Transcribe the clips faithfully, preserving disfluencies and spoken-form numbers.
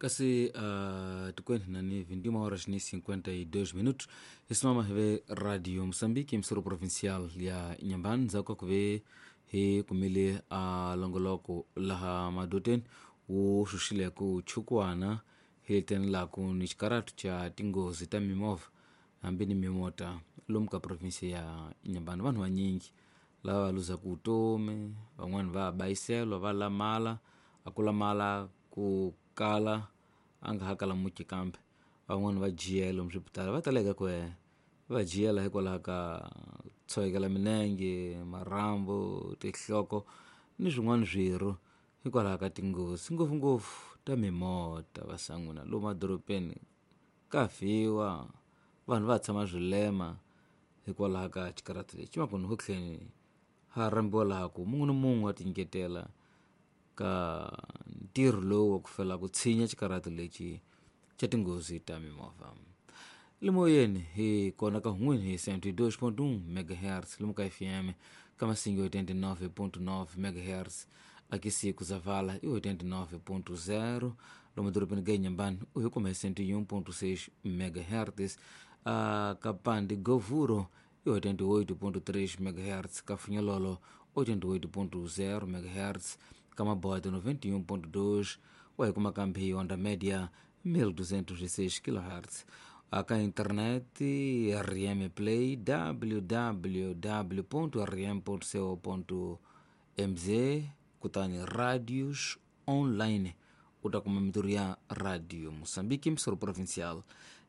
Kasi uh, tikweni nani vinte e uma horas ni cinquenta e dois minutos, isimama heve Radio Moçambique, emissora provincial ya Inhambane. Ndzhaku ka ku ve hi kumile a longoloko laha madoteni wu xuxile ku chukwana hi leteni ku ni xikaratu cha tinghozi ta mimovha hambi ni mimota lomu ka provinsia ya Inhambane. Vanhu vanyingi lava va luzaka vutomi, van'wani va bayiselwa, va lamala, a ku lamala ku kala a nga ha kala muti, kambe van'wani va jiyela lomu swipitali, va taleka ku va jiyela hikwalaho ka tshovekela minenge, marhambu, tinhloko ni swin'wana swirho hikwalaho ka tinghozi, ngopfungopfu ta mimota. Vasan'wina, lomu madorobeni ka fiwa, vanhu va tshama swilema hikwalaho ka xikaratu lexi. Makunu ho tlheni ha rhambiwa laha ku mun'we ni mun'we wa tinyiketela ka ntirho lowu wa ku fela ku tshinya xikaratu lexi xa tinghozi ta mimovha. Limoyeni hi kona ka hun'wini hi cento e dois ponto um megahertz lomu ka F M, ka Masingi oitenta e nove ponto nove megahertz, akisi kuzavala i oitenta e nove ponto zero, lomu dorobeni ga Inhambane u hi kuma hi cento e um ponto seis megahertz, uh, ka Pandi Govuro i oitenta e oito ponto três megahertz, ka Funhololo oitenta e oito ponto zero megahertz, ka Mabote noventa e um ponto dois, wa hi kuma kambe hi onda média mil duzentos e seis kilohertz. Aka internet R M Play, w w w ponto r m ponto co ponto m z, kutani radios online u ta kuma mitirho ya Radio Moçambique, emissora provincial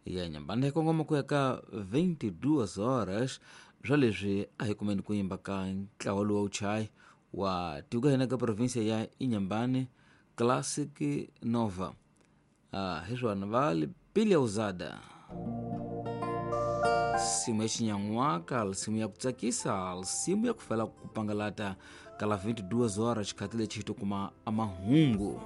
ya Inhambane. Hi kongoma ku ya ka vinte e duas horas. Swa leswi a hi kumeni ku yimba ka ntlawa lowu wa wuchayi wa tiko hina ka provinsia ya Inhambane, Classic Nova. Ah, hi swona va Pilha Usada, simu ya xinyan'waka, simu ya ku tsakisa, simu ya ku fela ku pangalata kala vinte e duas horas. Xikhati lexi hi to kuma amahungu.